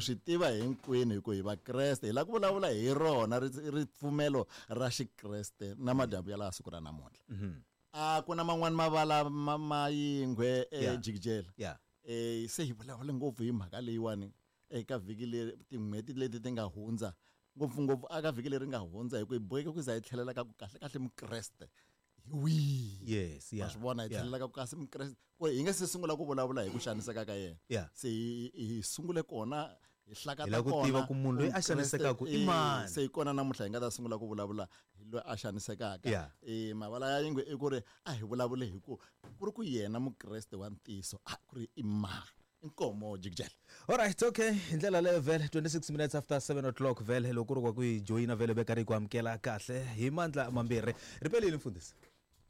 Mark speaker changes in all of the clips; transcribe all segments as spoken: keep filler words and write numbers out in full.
Speaker 1: Hi swi tiva hinkwenu hi ku hi vakreste hi lava ku vulavula hi rona ripfumelo ra xikreste na madyambu ya laha siku ra namuntlha. A ku na man'wani mavala ma mayingwe ejikijela. Eh se hi vulavule ngopfu hi mhaka leyiwani eka vhiki leri tin'hweti leti ti nga hundza ngopfungopfu aka vhiki leri nga hundza hi ku hi boheke ku za hi tlhelela ka ku kahle kahle mukreste hi wihi.
Speaker 2: Yes, yeah.
Speaker 1: Wa swi vona hi tlhelela ka ku kasi mukreste ku hi nga se sungula ku vulavula hi ku xaniseka ka yena.
Speaker 2: Yeah.
Speaker 1: Se hi hi sungule kona hi hlakata
Speaker 2: Hi lava ku
Speaker 1: kona
Speaker 2: tiva ku munhu loyi a xanisekaka i mani.
Speaker 1: Se hi kona namuntlha hi nga ta sungula ku vulavula hi loyi a xanisekaka.
Speaker 2: Yeah.
Speaker 1: Eh mavala ya yingwe i ku ri a hi vulavule hi ku ku ri ku yena mukreste wa ntiyiso a ku ri i mani. Inkomo jikijela.
Speaker 2: All right, okay. Hi ndlela leyo vhele twenty-six minutes after seven o'clock vhele loko ku ri wa ku hi joyina vhele veka ri ku amukela kahle hi mandla mambirhi. Ripelile mfundhisi.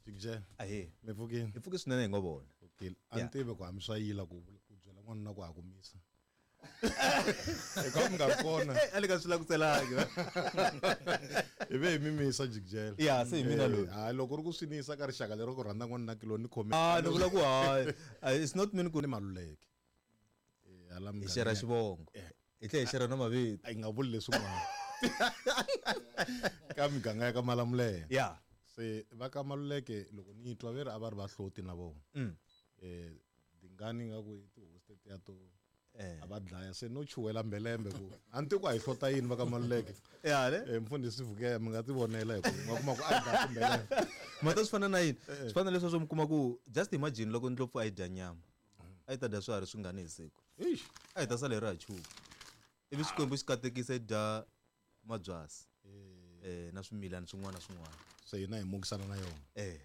Speaker 3: Jikijela.
Speaker 2: Ahee.
Speaker 3: Mi pfukile?
Speaker 2: Hi pfuke swinene hi ngo vona.
Speaker 3: Pfukile. A ni tivi ku hambi swa yila ku ku byela n'wanuna ku ha ku misa. Eka mi nga ri kona.
Speaker 2: A le ka swi langutelangi.
Speaker 3: Hi ve hi mimisa jikijela.
Speaker 2: Ya, se hi mina loyi.
Speaker 3: Hayi loko ri ku swi nisa ka rixaka lero ku rhandza n'wanuna kilo ni khome.
Speaker 2: Ah, ni vula ku hayi. It's not mean ku
Speaker 3: ni Maluleke. Hala
Speaker 2: Hi xera xivongo. Hi tlhela hi xera na mavito.
Speaker 3: A hi nga vuli leswin'wana. Ka miganga ya ka Malamulele.
Speaker 2: Yeah.
Speaker 3: Se va ka Maluleke loko ni twa ve ri a va ri vahloti na vona.
Speaker 2: Mm.
Speaker 3: Eh dingani nga ku i tihosi tetiya to
Speaker 2: Eh.
Speaker 3: a va dlaya se no chuwela mbelembe ku a ni tivi ku a hi hlota yini va ka Maluleke.
Speaker 2: Ya ne?
Speaker 3: Eh mfundhisi Vukela mi nga ti vonela hi ku mi nga kuma ku a hi dlaya timbelembe.
Speaker 2: Mata swi fana na yini? Swi fana na leswi swo mi kuma ku just imagine loko ndlopfu a yi dya nyama. A yi ta dya swiharhi swingani hi siku.
Speaker 3: Eish.
Speaker 2: A yi ta sala hi ri ha chuha. Ivi Xikwembu xi katekisa yi dya mabyasi. Eh na swimilana swin'wana na swin'wana.
Speaker 3: Se hina hi mukisana na yona.
Speaker 2: Eh.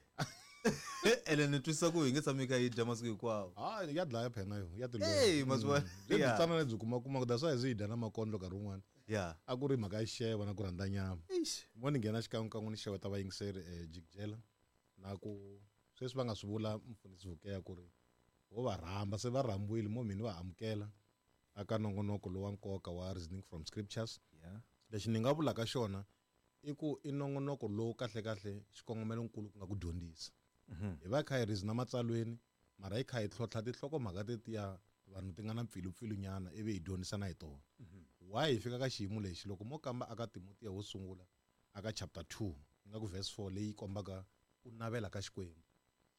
Speaker 2: Ene ni twisisa ku hi nge tshami kha yi dya masiku hinkwawo.
Speaker 3: Ah, ya dlaya phela yo, ya tilwela.
Speaker 2: Hey, masiku
Speaker 3: Mm. Lebyi
Speaker 2: Yeah.
Speaker 3: tsana lebyi kuma kuma ku that's why hi dya na makondlo nkarhi wun'wana.
Speaker 2: Yeah.
Speaker 3: A ku ri mhaka ya xixevo na ku rhandza nyama.
Speaker 2: Eish.
Speaker 3: Mo ni nghena xikan'wekan'we ni xeweta vayingiseri eh jikijela na ku sweswi va nga swi vula mfundhisi Vukela ku ri vo va rhamba se va rhambiwile mo mina va amukela aka nongonoko lowa nkoka wa Reasoning from Scriptures.
Speaker 2: Yeah.
Speaker 3: Lexi ni nga vulaka xona i ku i nongonoko lowu kahle kahle xikongomelonkulu ku nga ku dyondzisa. Hi va kha hi reason matsalweni mara hi kha hi tlhotlha tinhlokomhaka tetiya vanhu ti nga na mpfilumpfilunyana ivi hi dyondzisana hi tona. Why hi fika ka xiyimo lexi loko mo kamba aka Timotiya wo sungula aka chapter two nga ku verse four leyi kombaka ku navela ka Xikwembu.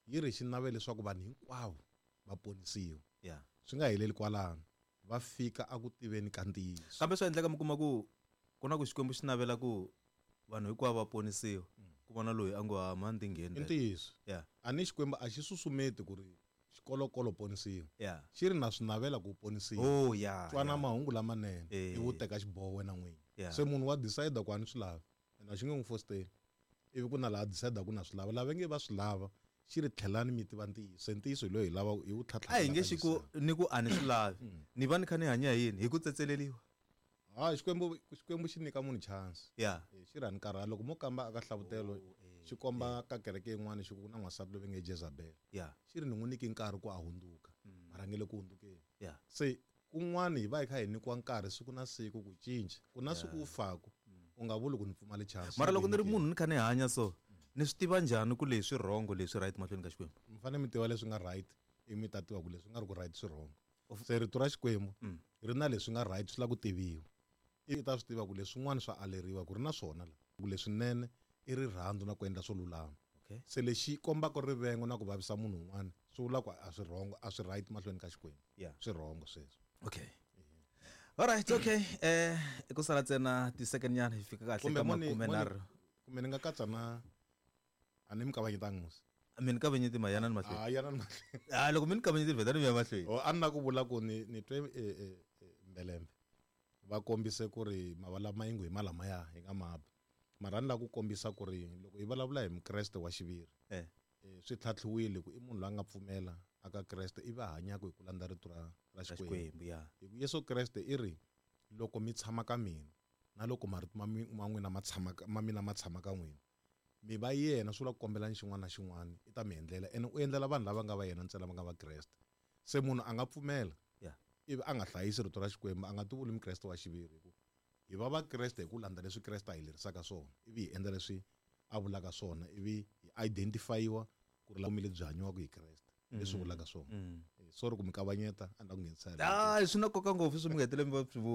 Speaker 3: Yi ri xi navela leswaku vanhu hinkwavo va ponisiwa.
Speaker 2: Yeah.
Speaker 3: Swi nga heleli kwalano, va fika a ku tiveni ka ntiyiso.
Speaker 2: Kambe swi endleka mi kuma ku ku na ku Xikwembu xi navela ku vanhu hinkwavo va ponisiwa. Ku vona loyi a ngo ha mani ti ngheni.
Speaker 3: I ntiyiso.
Speaker 2: Yeah.
Speaker 3: A ni Xikwembu a xi susumeti ku ri xikolokolo ponisiwa.
Speaker 2: Yeah.
Speaker 3: Xi ri na swi navela ku ponisiwa.
Speaker 2: Oh, yeah,
Speaker 3: Twana
Speaker 2: yeah.
Speaker 3: mahungu lamanene,
Speaker 2: Eh.
Speaker 3: ivi u teka xiboho wena n'wini.
Speaker 2: Yeah.
Speaker 3: Se munhu wa decide ku a ni swi lavi. Ene a xi nge n'wi fositeli. Ivi ku na laha decide ku na swi lava, lava nge va swi lava xi ri tlhelani mi tiva ntiyiso. Se ntiyiso hi loyi hi lava hi wu tlhatlha.
Speaker 2: A hi nge xi ku ni ku a ni swi lavi. Ni va ni kha ni hanya hi yini? Hi ku tsetseleriwa.
Speaker 3: Ha, Xikwembu, Xikwembu xi nyika munhu chance.
Speaker 2: Yeah.
Speaker 3: Eh, xi ri a ni karhali. Loko mo kamba aka hlavutelo,
Speaker 2: Oh, eh,
Speaker 3: xi komba
Speaker 2: eh.
Speaker 3: ka kereke yin'wana xi ku ku na n'wansati loyi va nge Jezebel.
Speaker 2: Yeah.
Speaker 3: Xi ri ni n'wi nyike nkarhi ku a hundzuka.
Speaker 2: Mm.
Speaker 3: Mara nge le ku hundzukeni.
Speaker 2: Yeah.
Speaker 3: Se kun'wana hi va hi kha hi nyikiwa nkarhi siku na siku ku cinca. Ku na siku u faku, u nga vuli ku ni pfumale chance.
Speaker 2: Mara loko ni ri munhu ni kha ni hanya so, ni swi tiva njhani ku leswi wrong leswi right mahlweni ka Xikwembu?
Speaker 3: Mi fanele mi tiva leswi nga right, ivi mi ta tiva ku leswi nga ri ku right swi wrong. Se rito ra Xikwembu
Speaker 2: Mm.
Speaker 3: ri na leswi nga right swi lava ku tiviwa. I ta swi tiva ku leswin'wana swa aleriwa ku ri na swona la. Ku leswinene i rirhandzu na ku endla swo lulama.
Speaker 2: Okay.
Speaker 3: Se lexi kombaka rivengo na ku vavisa munhu un'wana swi vula ku a swi wrong, a swi right mahlweni ka Xikwembu.
Speaker 2: Yeah.
Speaker 3: Swi wrong sweswo.
Speaker 2: Okay. All right, okay. Eh, i ku sala ntsena ti-second nyana hi fika kahle
Speaker 3: Kumbe
Speaker 2: ka
Speaker 3: moni-
Speaker 2: makume
Speaker 3: moni-
Speaker 2: nharhu.
Speaker 3: Kumbe ni nga katsa na a ni mi kavanyetanga musi.
Speaker 2: Mi ni kavanyeti ma yana ni mahlweni.
Speaker 3: Ah, yana ni mahlweni.
Speaker 2: Ah, loko mi ni kavanyeti vheta ni ya mahlweni.
Speaker 3: Oh, a ni na ku vula ku ni, ni twe, eh, eh, eh, mbelembe. Va kombise ku ri mavala mayingu hi malamaya hi nga maba. Mara ni lava ku kombisa ku ri loko hi vulavula hi Mukreste wa xiviri,
Speaker 2: Eh.
Speaker 3: eh, swi tlhatlhiwile ku i munhu loyi a nga pfumela aka Kreste ivi a hanyaka hi ku landza rito ra, ra
Speaker 2: Ra
Speaker 3: Xikwembu.
Speaker 2: Xikwembu, ya.
Speaker 3: Hi ku Yesu Kreste i ri loko mi tshama ka mina na loko marito ma mi, ma n'wina ma tshama ka, ma mina ma tshama ka n'wina, mi va yena swi vula ku kombelani xin'wana na xin'wana i ta mi endlela, ene u endlela vanhu lava nga va yena ntsena va nga va Kreste. Se munhu a nga pfumela
Speaker 2: Yeah.
Speaker 3: ivi a nga hlayisi rito ra Xikwembu, a nga tivuli Mukreste wa xiviri, hi ku hi va Vakreste hi ku landza leswi Kreste a hi lerisaka swona, ivi hi endla leswi a vulaka swona, ivi hi identify-iwa ku ri vutomi lebyi hanyiwaka hi Kreste, leswi vulaka swona.
Speaker 2: Mm.
Speaker 3: Eh, sorry ku mi kavanyeta, a ni la ku nghenisa hi
Speaker 2: Ah, swi na nkoka ngopfu swi mi nga heteleli mi va swi vula.